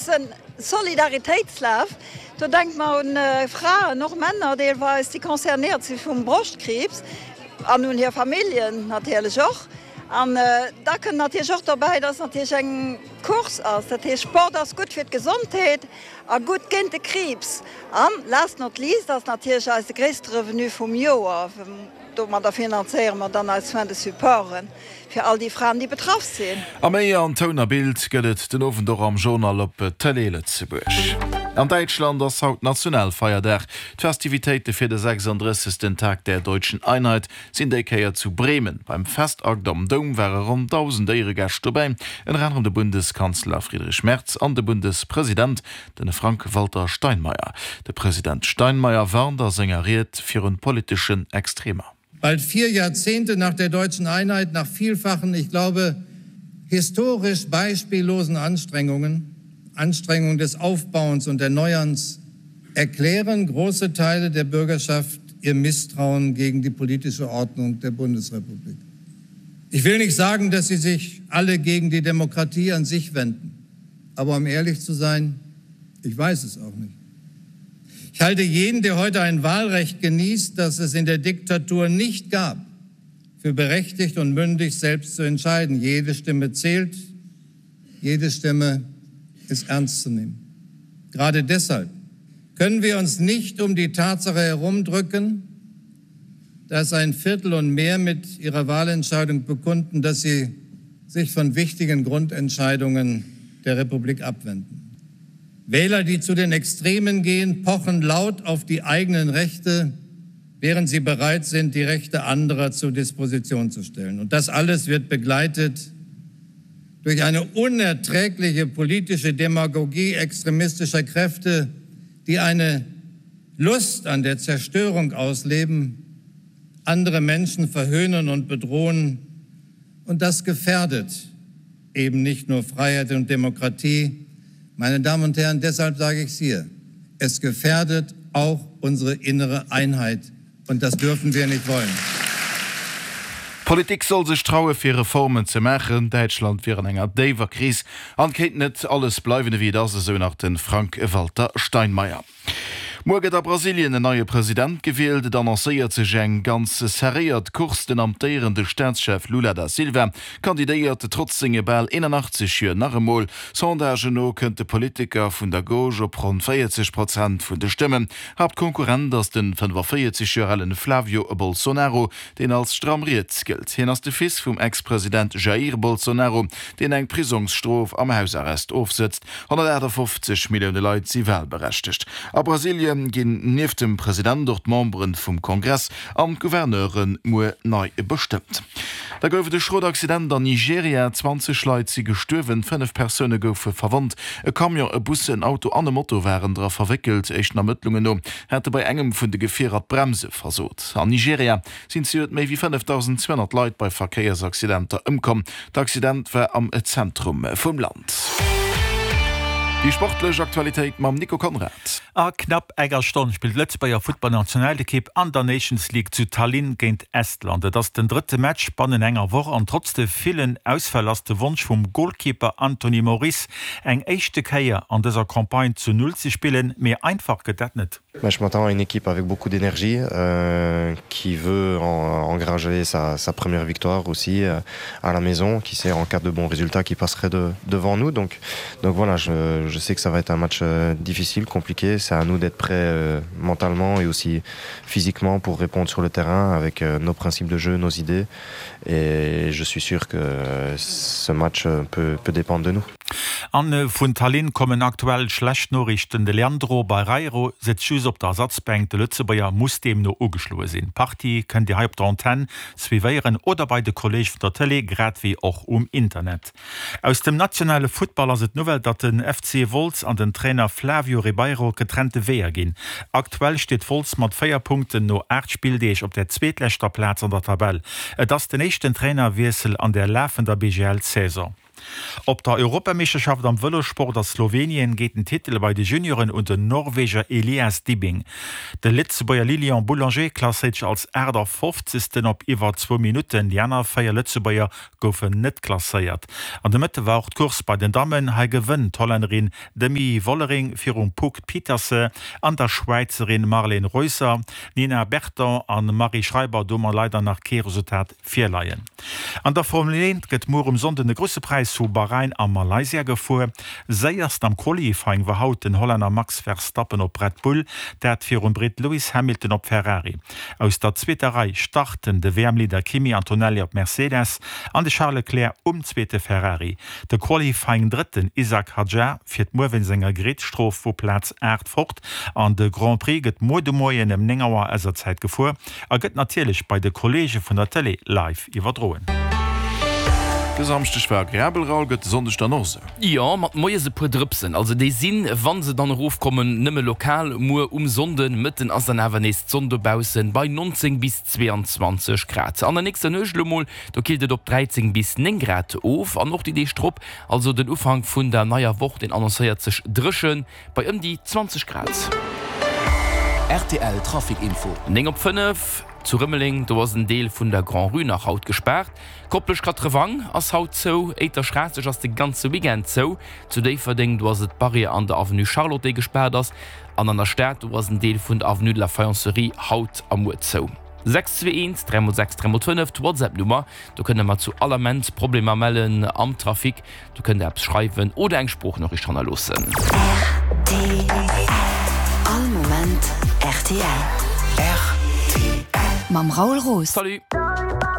En Solidaritéitslaf, do denke mer un Fraen, och Männer deelweis, déi concernéiert si vum Broschtkriibs an un hir Familljen natierlech och. An da kënnt natierlech och dobäi, dass et natierlech eng Course ass. Dat heescht, Sport ass gutt fir d'Gesondheet a gutt géint de Kriibs. An last not least ass natierlech eise gréisste Revenu vum Joer. Domadder finanzéiere mer dann eis Soins de supporten fir all déi Fraen, déi betraff sinn. A méi an Toun a Bild gëtt et den Owend och am Journal op Tëlee Lëtzebuerg. An Däitschland ass haut Nationalfeierdag. D'Festivitéite fir de 36. Tag der Deutschen Einheit sinn déi Kéier zu Bremen. Beim Festakt am Doum ware ronn 1.000 Éieregäscht dobäi, ënner anerem de Bundeskanzler Friedrich Merz an de Bundespresident, den Frank-Walter Steinmeier. De President Steinmeier warnt a senger Ried virun politeschen Extremer. Bald vier Jahrzehnte nach der deutschen Einheit, nach vielfachen, ich glaube, historisch beispiellosen Anstrengungen, Anstrengungen des Aufbauens und Erneuerns, erklären große Teile der Bürgerschaft ihr Misstrauen gegen die politische Ordnung der Bundesrepublik. Ich will nicht sagen, dass sie sich alle gegen die Demokratie an sich wenden. Aber um ehrlich zu sein, ich weiß es auch nicht. Ich halte jeden, der heute ein Wahlrecht genießt, das es in der Diktatur nicht gab, für berechtigt und mündig selbst zu entscheiden. Jede Stimme zählt, jede Stimme ist ernst zu nehmen. Gerade deshalb können wir uns nicht um die Tatsache herumdrücken, dass ein Viertel und mehr mit ihrer Wahlentscheidung bekunden, dass sie sich von wichtigen Grundentscheidungen der Republik abwenden. Wähler, die zu den Extremen gehen, pochen laut auf die eigenen Rechte, während sie bereit sind, die Rechte anderer zur Disposition zu stellen. Und das alles wird begleitet durch eine unerträgliche politische Demagogie extremistischer Kräfte, die eine Lust an der Zerstörung ausleben, andere Menschen verhöhnen und bedrohen. Und das gefährdet eben nicht nur Freiheit und Demokratie. Meine Damen und Herren, deshalb sage ich es hier. Es gefährdet auch unsere innere Einheit. Und das dürfen wir nicht wollen. D'Politik soll sech traue fir Reformen ze maachen. Däitschland wier an enger déiwer Kris an kéint net alles bleiwen ewéi et ass, esou nach de Frank-Walter Steinmeier. Muer gëtt a Brasilien en neie President gewielt. Et annoncéiert sech eng ganz serréiert Course. Den amtéierende Staatschef Lula da Silva kandidéiert trotz senge bal 81 Joer nach emol. Sondagen no kënnt de Politiker vun der Gauche op ronn 40 Prozent vun de Stëmmen. Haaptkonkurrent ass de 45 Joer alen Flavio Bolsonaro, deen als stramm riets gëllt. Hien ass de Fils vum Ex-President Jair Bolsonaro, deen eng Prisongsstrof am Hausarrest ofsëtzt. 158 Millioune Leit si walberechtegt. A Brasilie ginn nieft dem President och d'Membere vum Kongress an d'Gouverneure muer nei bestëmmt. Da gouf et e schrot Accident an Nigeria. 20 Leit si gestuerwen, 5 Persoune goufe verwonnt. E Camion, e Bus, en Auto an e Moto waren dra verwéckelt. Éischten Ermëttlungen no hate bei engem vun de Gefierer d'Bremse versot. An Nigeria sinn zejoert méi wéi 5.200 Leit bei Verkéiersaccidenter ëmkomm. D'Accident war am Zentrum vum Land. Déi sportlech Aktualitéit mam Nico Conrad. A knapp enger Stonn spillt d'Lëtzebuerger Futtballnationalekipp an der Nations League zu Tallinn géint Estland. Et ass den drëtte Match bannen enger Woch an trotz de villen Ausfäll ass de Wonsch vum Golkeeper Anthony Moris eng éischte Kéier an dëser Campagne zu Null ze spillen, mee einfach gëtt dat net. Je m'attends à une équipe avec beaucoup d'énergie euh, qui veut en, engranger sa, sa première victoire aussi euh, à la maison qui sait en cas de bons résultats qui passerait de, devant nous donc donc voilà je, je sais que ça va être un match euh, difficile compliqué c'est à nous d'être prêt euh, mentalement et aussi physiquement pour répondre sur le terrain avec euh, nos principes de jeu nos idées et je suis sûr que euh, ce match euh, peut, peut dépendre de nous. An vun Tallinn kommen aktuell schlecht Noriichten, De Leandro Barreiro sëtzt just op der Ersatzbänk, de Lëtzebuerger muss deemno ugeschloe sinn. D'Partie kënnt Dir hei op der Antenn suivéieren oder bei de Kolleege vun der Tëlee, grad wéi och um Internet. Aus dem nationale Futtball ass et d'Nouvelle, datt den FC Wolz an den Trainer Flavio Ribeiro getrennte Weeër ginn. Aktuell steet Wolz mat 4 Punkten no 8 Spilldeeg op der zweetleschter Plaz an der Tabell. Et ass den éischten Trainerwiessel an der lafender BGL-Saison. Op der Europameeschterschaft am Vëlossport a Slowenien geet den Titel bei de Junioren un den Norweger Elias Dibbing. De Lëtzebuerger Lilian Boulanger klasséiert sech als 58. op iwwer zwou Minutten. Déi aner 4 Lëtzebuerger goufen net klasséiert. An de Mëtte war och d'Course bei den Dammen. Hei gewënnt d'Hollännerin Demi Vollering virum Puck Pieterse an der Schwäizerin Marlene Reusser. Nina Berton an Marie Schreiber, do hu mer leider nach kee Resultat virleien. An der Formel 1 gëtt muer um Sonnden de Grousse Präis vu Bahrain a Malaysia gefuer. Séierst am Qualifying war haut den Hollänner Max Verstappen op Red Bull, dat virum Britt Lewis Hamilton op Ferrari. Aus der zweeter Rei starten de WM-Leader Kimi Antonelli op Mercedes an de Charles Leclerc um zweete Ferrari. De Qualifying-Drëtten Isack Hadjar fiert muer wéinst enger Grid-Strof vu Plaz 8 fort an de Grand Prix gëtt muer de Moien ëm 9 Auer eiser Zäit gefuer. A gëtt natierlech bei de Kolleege vun der Tëlee live iwwerdroen. De Samschdeg war agreabel, Raoul, gëtt de Sonndeg dann och esou? Jo, mat moies e puer Drëpsen. Also déi sinn, wa se dann erofkommen, nëmme lokal. Muer um Sonnden Mëtten ass dann awer nees d'Sonn dobaussen bei 19 bis 22 Grad. An der nächster Nuecht elo mol, do killt et op 13 bis 9 Grad of. An och déi Deeg drop, also den Ufank vun der neier Woch, deen annoncéiert sech dréchen. Bei ëm déi 20 Grad. Rtl Trafic Info. 9 op 5, Zu Rëmeleng, do ass en Deel vun der Grand-Rue nach haut gespaart. Koplescht Katrewank ass haut zou. Éiter-Schraasseg ass de ganze Weekend zou. Zu Déifferdeng, do ass et d'Barrière an der Avenue Charlotte, déi gespaart ass. An an der Stad, do ass en Deel vun der Avenue de la Faïencerie haut a muer zou. 6 2 1 3 mol 6 3 mol 5, d'Whatsapp-Nummer, do kënnt der mer zu all Ament Problemer mellen am Trafic. Do kënnt der eppes schreiwen oder eng Sproochnoriicht hannerloossen. Rtl, All Moment rtl. Rtl. Mam Raoul Roos. Salut!